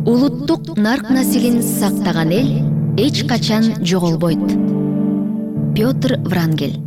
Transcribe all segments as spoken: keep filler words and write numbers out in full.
Улуттук нарк насилин сактаган эл эч качан жоголбойт. Петр Врангель.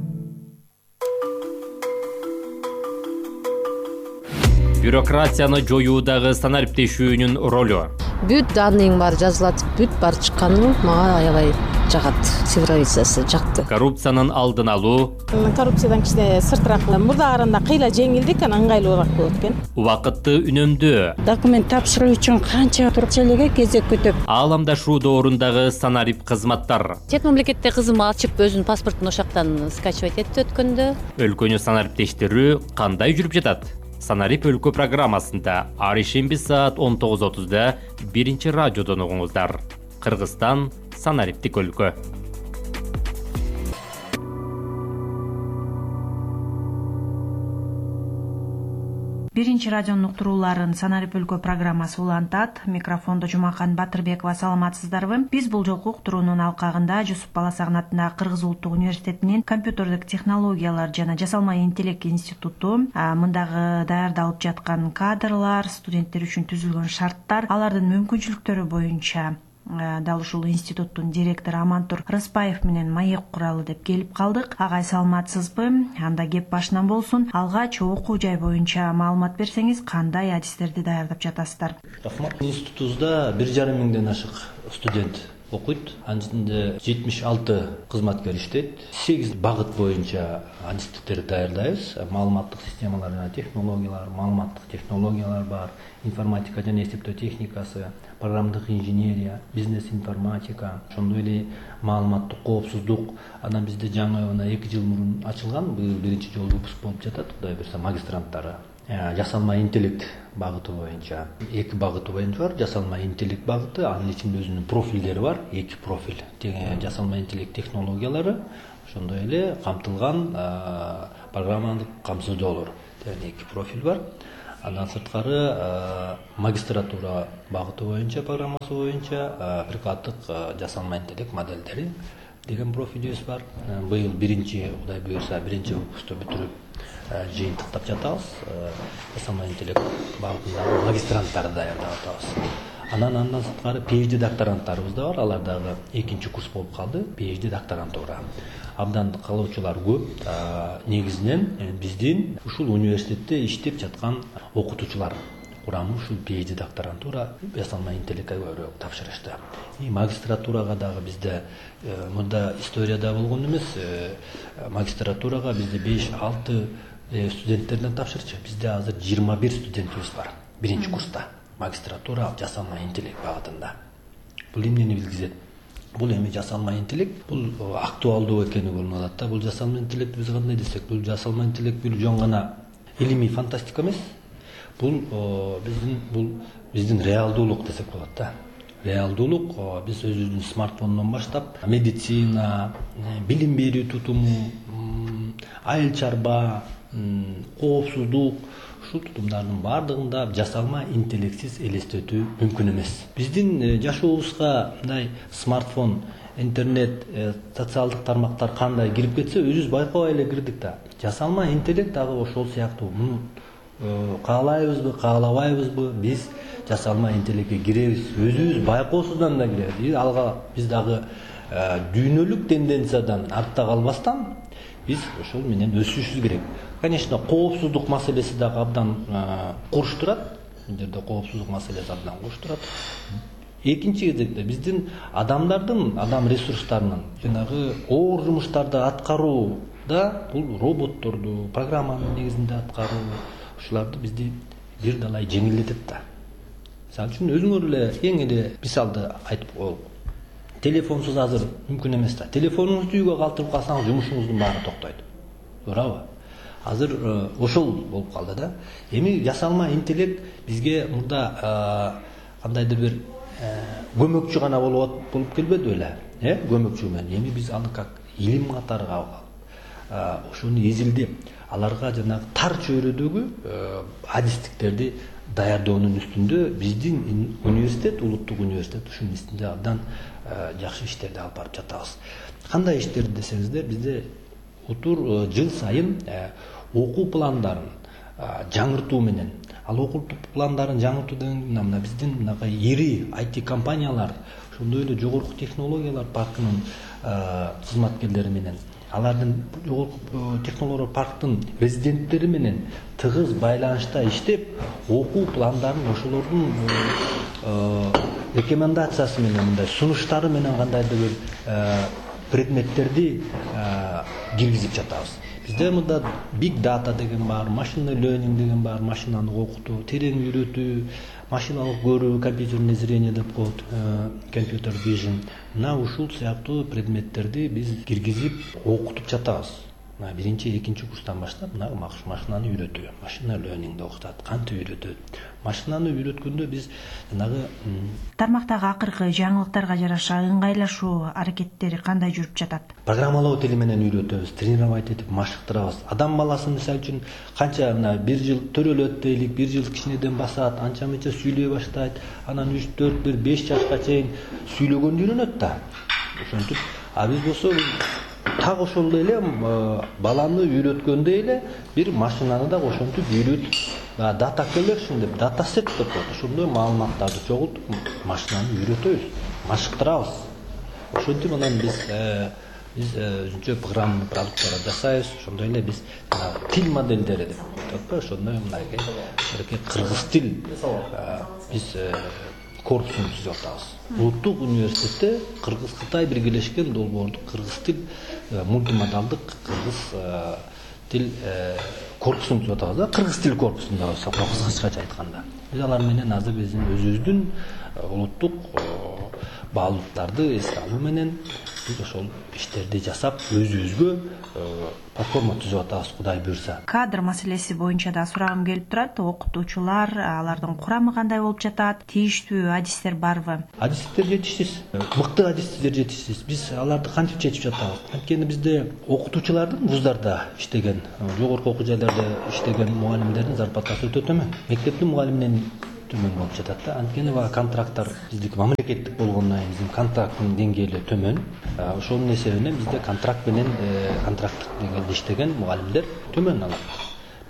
Бюрократияны жоюудагы санариптешүүнүн ролу. Бүт данныйың бар жазылат, бүт бар чыкканы мага аябай жагат. Цифровизация жакты. Коррупциянын алдын алуу. Коррупциядан кичине сыртыраак мурдаарында кыйла жеңилдик, анан ыңгайлуураак болот экен. Убакытты үнөмдөө. Документ тапшыруу үчүн канча турчелеге кезек күтүп. Ааламдашуу доорундагы санарип кызматтар. Чет мамлекетте кызым ачып өзүнүн паспортун ошактан скачивать этти өткөндө. Өлкөнү санариптештирүү кандай жүрүп жатат? Санарип өлкө программасында ар ишемби саат он тогуз отузда биринчи радиодон угуңуздар. Кыргызстан санариптик өлкө. Биринчи радионун уктурууларын Санарип өлкө программасы улантат. Микрофондо Жумакан Батырбекова. Саламатсыздарбы? Биз бул жолку уктуруунун алкагында Жусуп Баласагын атындагы Кыргыз улуттук университетинин компьютердик технологиялар жана жасалма интеллект институту мындагы даярдалып жаткан кадрлар, студенттер үчүн түзүлгөн шарттар, алардын мүмкүнчүлүктөрү боюнча дал ушул институттун директору Амантур Рыспаев менен маек куралы деп келип калдык. Агай, саламатсызбы? Анда кеп башынан болсун. Алгач окуу жай боюнча маалымат берсеңиз, кандай адистерди даярдап жатасыздар? Рахмат. Институтубузда бир жарым миңден ашык студент окуйт. Анын ичинде жетимиш алты кызматкер иштейт. сегиз багыт боюнча адистиктерди даярдайбыз. Маалыматтык системалар жана технологиялар, маалыматтык технологиялар бар, информатика жана эсептөө техникасы, программдык инженерия, бизнес информатика, ошондой эле маалыматтык коопсуздук. Анан бизде жаңы мына эки жыл мурун ачылган, быйыл биринчи жолу выпуск болуп жатат. Кудай буюрса магистранттары жасалма интеллект багыты боюнча эки багыты боюнча бар. Жасалма интеллект багыты, анын ичинде өзүнүн профилдери бар. Эки профиль. Жасалма интеллект технологиялары, ошондой эле камтылган программалык камсыздоолор. Эки профиль бар. Андан сырткары магистратура багыты боюнча, программасы боюнча прикладдык жасалма интеллект модельдери деген профилибиз бар. Быйыл биринчи, Кудай буюрса, биринчи выпускты бүтүрүп жыйынтыктап жатабыз. Жасалма интеллект багытындагы магистранттарды даярдап атабыз. Анан андан сырткары PhD докторанттарыбыз да бар. Алар дагы экинчи курс болуп калды. PhD докторантура. Абдан калуучулар көп. Негизинен биздин ушул университетте иштеп жаткан окутуучулар курамы ушул PhD докторантура жасалма интеллектке көбүрөөк тапшырышты. И магистратурага дагы бизде мында историяда болгон эмес, магистратурага бизде беш алты студенттерден тапшырчу. Бизде азыр жыйырма бир студентибиз бар биринчи курста. Магистратура жасалма интеллект багытында. Бул эмнени билгизет? Бул эми жасалма интеллект, бул актуалдуу экени көрүнүп атат да. Бул жасалма интеллект биз кандай десек, бул жасалма интеллект бул жөн гана илимий фантастика эмес. Бул биздин бул биздин реалдуулук десек болот да. Реалдуулук биз өзүбүздүн смартфондон баштап медицина, билим берүү тутуму, айыл чарба, коопсуздук, ушул тутумдардын баардыгында жасалма интеллектсиз элестетүү мүмкүн эмес. Биздин жашообузга мындай смартфон, интернет, социалдык тармактар кандай кирип кетсе, өзүбүз байкабай эле кирдик да. Жасалма интеллект дагы ошол сыяктуу. Муну каалайбызбы, каалабайбызбы, биз жасалма интеллектке киребиз. Өзүбүз байкоосуздан да киребиз. Алга биз дагы дүйнөлүк тенденциядан артта калбастан биз ошол менен өсүшүбүз керек. Конечно, коопсуздук маселеси дагы абдан курч турат. Бул жерде коопсуздук маселеси абдан курч турат. Экинчи кезекте биздин адамдардын, адам ресурстарынын жанагы оор жумуштарды аткарууда бул роботторду, программанын негизинде аткаруу, ушуларды бизди бир далай жеңилдетет да. Мисалы үчүн өзүңөр эле эң эле мисалды айтып коелук. Телефонсуз азыр мүмкүн эмес да. Телефонуңузду үйгө калтырып калсаңыз жумушуңуздун баары токтойт. Туурабы? Азыр ошол болуп калды да. Эми жасалма интеллект бизге мурда кандайдыр бир көмөкчү гана болуп болуп келбеди беле? Э, көмөкчү менен. Эми биз аны как илим катары ошону изилдеп, аларга жанагы тар чөйрөдөгү адистиктерди даярдоонун үстүндө биздин университет, улуттук университет ушунун үстүндө абдан жакшы иштерди алып барып жатабыз. Кандай иштерди десеңиздер, бизде утур жыл сайын окуу пландарын жаңыртуу менен, ал окутуу пландарын жаңыртуу деген мына биздин мынакай ири ай ти компаниялар, ошондой эле жогорку технологиялар паркынын кызматкерлери менен, алардын жогорку технологиялар парктын резиденттери менен тыгыз байланышта иштеп, окуу пландарын ошолордун рекомендациясы менен, мындай сунуштары менен кандайдыр бир предметтерди киргизип жатабыз. Бизде мында big data деген бар, машина learning деген бар, машинаны окутуу, терең үйрөтүү, машиналык көрүү, компьютерное зрение деп коет, компьютер vision. Мына ушул сыяктуу предметтерди биз киргизип окутуп жатабыз. Мына биринчи, экинчи курстан баштап мына машинаны үйрөтүү, машина learningди окутат, кантип үйрөтөт. Машинаны үйрөткөндө биз жанагы тармактагы акыркы жаңылыктарга жараша ыңгайлашуу аракеттери кандай жүрүп жатат? Программалоо тили менен үйрөтөбүз, тренировать этип машыктырабыз. Адам баласы мисалы үчүн канча мына бир жыл төрөлөт дейлик, бир жыл кичинеден басат, анча мынча сүйлөй баштайт, анан үч, төрт, бир, беш жашка чейин сүйлөгөндө үйрөнөт да. Ошентип, а биз болсо так ошол эле баланы үйрөткөндөй эле бир машинаны да ошентип үйрөтүп, data collection деп, data set деп коет. Ошондой маалыматтарды чогултуп машинаны үйрөтөбүз, машыктырабыз. Ошентип анан биз биз өзүнчө программалык продукттар жасайбыз. Ошондой эле биз тил модельдери деп коет. Ошондой мындай кыргыз тил биз корпусун түзүп атабыз. Улуттук университетте Кыргыз-Кытай биргелешкен долбоордук кыргыз тил мультимодалдык кыргыз тил корпусун түзүп атабыз да, кыргыз тил корпусун да болсо кыскача айтканда. Биз алар менен азыр биздин өзүбүздүн улуттук баалуулуктарды эске алуу менен биз ошол иштерди жасап өзүбүзгө платформа түзүп атабыз, Кудай буйрса. Кадр маселеси боюнча да сурагым келип турат. Окутуучулар, алардын курамы кандай болуп жатат? Тийиштүү адистер барбы? Адистер жетишсиз, мыкты адистер жетишсиз. Биз аларды кантип чечип жатабыз? Анткени бизде окутуучулардын вуздарда иштеген, жогорку окуу жайларда иштеген мугалимдердин зарплатасы өтө төмөн. Мектептин мугалиминен төмөн болуп жатат да. Анткени бага контракттар биздики мамлекеттик болгондон кийин биздин контракттын деңгээли төмөн. Ошонун эсебинен бизде контракт менен контракттык деңгээлде иштеген мугалимдер төмөн алат.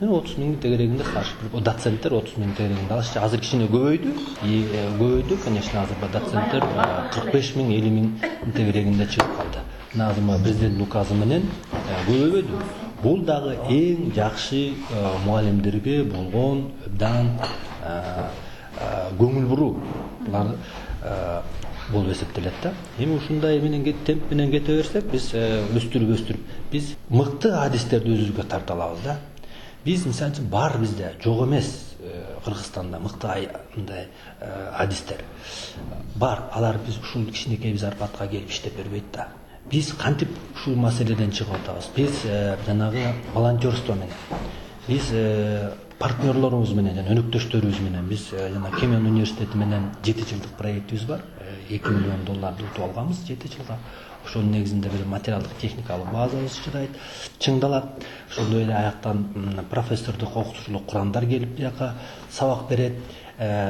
Мен отуз миңдин тегерегинде старший доценттер отуз миң тегерегинде алышчы. Азыр кичине көбөйдү. И көбөйдү, конечно, азыр доценттер кырк беш миң, элүү миң тегерегинде чыгып калды. Мына азыр президент указы менен көбөйдү. Бул дагы эң жакшы мугалимдерге болгон абдан көңүл буруу. Булар болуп эсептелет да. Эми ушундай менен темп менен кете берсек, биз өстүрүп өстүрүп биз мыкты адистерди өзүбүзгө тарта алабыз да. Биз мисалы үчүн бар бизде, жок эмес Кыргызстанда мыкты мындай адистер бар. Алар биз ушул кичинекей зарплатка келип иштеп бербейт да. Биз кантип ушул маселеден чыгып атабыз? Биз жанагы волонтерство менен, биз партнерлорубуз менен, жана өнөктөштөрүбүз менен, биз жана Кемен университети менен жети жылдык проектибиз бар. эки миллион долларды утуп алганбыз жети жылга. Ошонун негизинде бир материалдык техникалык базабыз чыдайт, чыңдалат. Ошондой эле аяктан профессордук окутуучулук курамдар келип бияка сабак берет.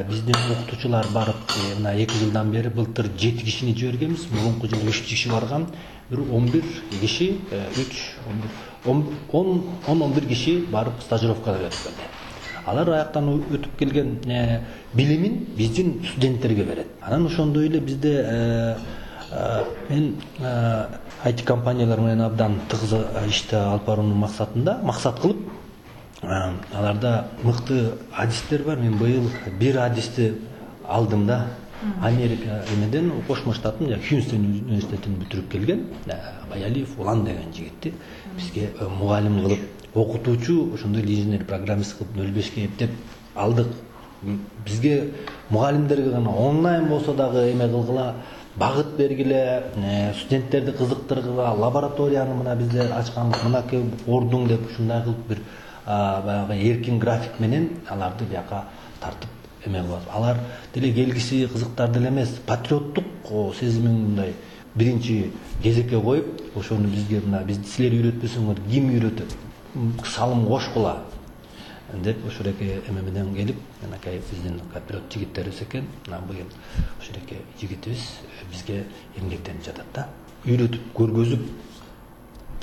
Биздин окутуучулар барып, мына эки жылдан бери былтыр жети кишини жибергенбиз, мурунку жылы үч киши барган, бир он бир киши, үч, он он бир киши барып стажировкага өтүп келди. Алар аяктан өтүп келген билимин биздин студенттерге берет. Анан ошондой эле бизде мен ай ти компаниялар менен абдан тыгыз ишти алып баруунун максатында, максат кылып, аларда мыкты адистер бар. Мен быйыл бир адисти алдым да. Америка эмеден, Кошмо штаттын Хьюстон университетин бүтүрүп келген Баялиев Улан деген жигитти бизге мугалим кылып, окутуучу, ошондой инженер программист кылып нөл бешке эптеп алдык. Бизге мугалимдерге гана онлайн болсо дагы эме кылгыла, багыт бергиле, студенттерди кызыктыргыла, лабораторияны мына биздер ачканбыз, мынакей ордуң деп ушундай кылып бир баягы эркин график менен аларды бияка тартып эме кылат. Алар деле келгиси кызыктар деле эмес, патриоттук сезимин мындай биринчи кезекке коюп, ошону бизге мына биз силер үйрөтпөсөңөр ким үйрөтөт? Салым кошкула деп ошореке эме менен келип, анакай биздин патриот жигиттерибиз экен. Мына быйыл ошореке жигитибиз бизге эмгектенип жатат да. Үйрөтүп, көргөзүп,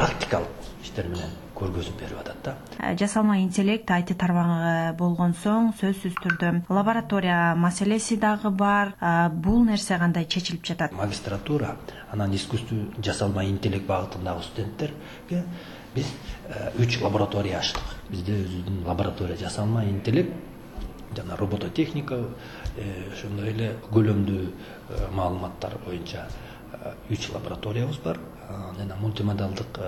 практикалык иштер менен көргөзүп берип атат да. Жасалма интеллект ай ти тармагы болгон соң сөзсүз түрдө лаборатория маселеси дагы бар. Бул нерсе кандай чечилип жатат? Магистратура анан искусство жасалма интеллект багытындагы студенттерге биз үч лаборатория ачтык. Бизде өзүбүздүн лаборатория жасалма интеллект жана робототехника, ошондой эле көлөмдүү маалыматтар боюнча үч лабораториябыз бар. Жана мультимодалдык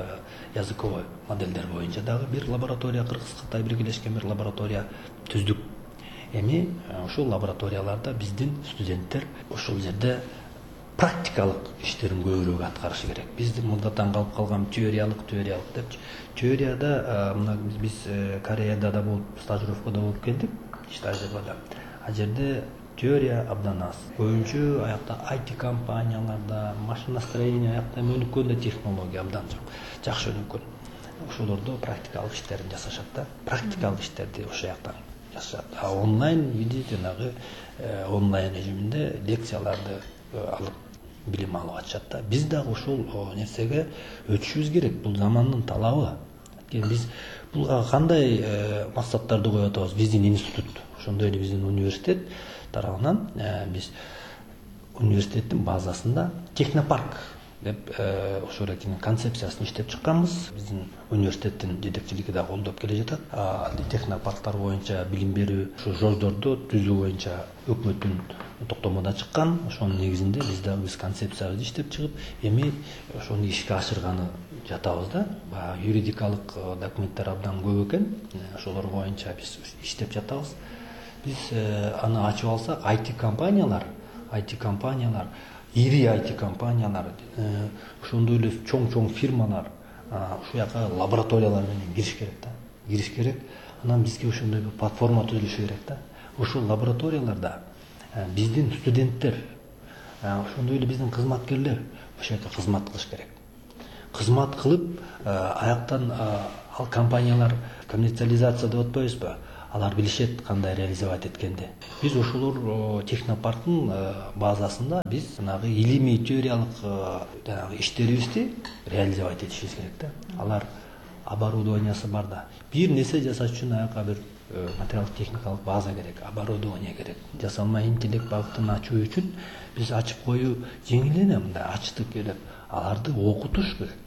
языковой моделдер боюнча дагы бир лаборатория, Кыргыз-Кытай биргелешкен бир лаборатория түздүк. Эми ушул лабораторияларда биздин студенттер ошол жерде практикалык иштерин көбүрөөк аткарышы керек. Биздин мурдатан калып калган теориялык теориялык деп. Теорияда мына биз Кореяда да болуп, стажировкада болуп келдик, стажировкада. А жерде теория абдан аз. Көбүнчө аякта ай ти компанияларда, машиностроение аякта өнүккөн технология абдан жок. Жакшы өнүккөн. Ошолордо практикалык иштерин жасашат да. Практикалык иштерди ошол жактан жасашат. А онлайн виде жанагы онлайн режиминде лекцияларды алып билим алып атышат да. Биз дагы ошол нерсеге өтүшүбүз керек. Бул замандын талабы. Биз булга кандай максаттарды коюп атабыз? Биздин институт, ошондой эле биздин университет тарабынан биз университеттин базасында технопарк деп ошол эле концепциясын иштеп чыкканбыз. Биздин университеттин жетекчилиги да колдоп келе жатат. Технопарктар боюнча билим берүү ушу жолдорду түзүү боюнча өкмөттүн токтомунда чыккан. Ошонун негизинде биз дагы биз концепциябызды иштеп чыгып, эми ошону ишке ашырганы жатабыз да. Баягы юридикалык документтер абдан көп экен. Ошолор боюнча биз иштеп жатабыз. Биз аны ачып алсак, ай ти компаниялар, ай ти компаниялар, ири ай ти компаниялар, ошондой эле чоң-чоң фирмалар ушул жака лабораториялар менен кириш керек да. Кириш керек. Анан бизге ошондой бир платформа түзүлүшү керек да. Ушул лабораторияларда биздин студенттер, ошондой эле биздин кызматкерлер ошол жерде кызмат кылыш керек. Кызмат кылып, аяктан ал компаниялар коммерциализация деп атпайбызбы? Алар билишет кандай реализовать эткенди. Биз ошолор технопарктын базасында биз жанагы илимий теориялык жанагы иштерибизди реализовать этишибиз керек да. Алар оборудованиясы бар да. Бир нерсе жасаш үчүн аяка бир материалдык техникалык база керек, оборудование керек. Жасалма интеллект багытын ачуу үчүн биз ачып коюу жеңил эле, мындай ачтык келип, аларды окутуш керек.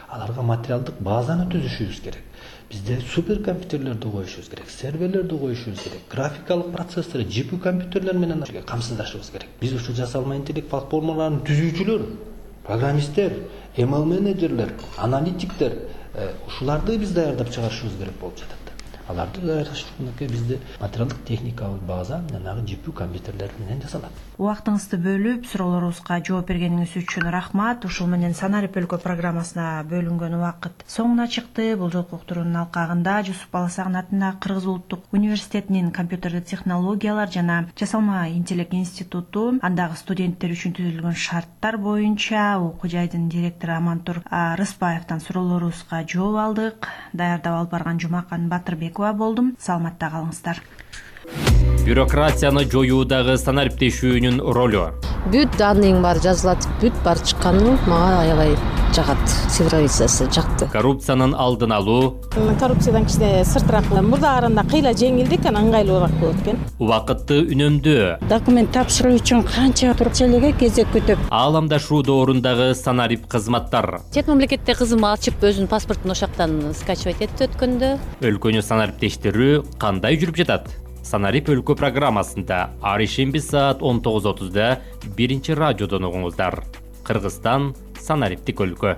Аларга материалдык базаны түзүшүбүз керек. Бизде суперкомпьютерлерди коюшубуз керек, серверлерди коюшубуз керек, графикалык процессор, джи пи ю компьютерлер менен камсыздашыбыз керек. Биз ушу жасалма интеллект платформаларынын түзүүчүлөр, программисттер, эм эл менеджерлер, аналитиктер, ушуларды биз даярдап чыгарышыбыз керек болуп жатат. Аларды даярдаш үчүн бизде материалдык техникалык база жанагы джи пи ю компьютерлер менен жасалат. Убактыңызды бөлүп, суроолорубузга жооп бергениңиз үчүн рахмат. Ушул менен Санарип өлкө программасына бөлүнгөн убакыт соңуна чыкты. Бул жолку уктуруунун алкагында Жусуп Баласагын атындагы Кыргыз улуттук университетинин компьютердик технологиялар жана жасалма интеллект институту, андагы студенттер үчүн түзүлгөн шарттар боюнча окуу жайдын директору Амантур Рыспаевден суроолорубузга жооп алдык. Даярдап алып барган Жумакан Батырбекова болдум. Саламатта калыңыздар. Бюрократияны жоюудагы санариптешүүнүн ролу. Бүт данныйың бар жазылат, бүт бар чыкканы мага аябай жагат. Цифровизациясы жакты. Коррупциянын алдын алуу. Коррупциядан кичине сыртыраак, мурдаарында кыйла жеңилдик, анан ыңгайлуураак болот экен. Убакытты үнөмдөө. Документ тапшыруу үчүн канча турчелеге кезек күтүп. Ааламдашуу доорундагы санарип кызматтар. Чет мамлекетте кызым ачып өзүнүн паспортун ошактан скачивать этти өткөндө. Өлкөнү санариптештирүү кандай жүрүп жатат? Санарип өлкө программасында ар ишемби саат он тогуз отузда биринчи радиодон угуңуздар. Кыргызстан санариптик өлкө.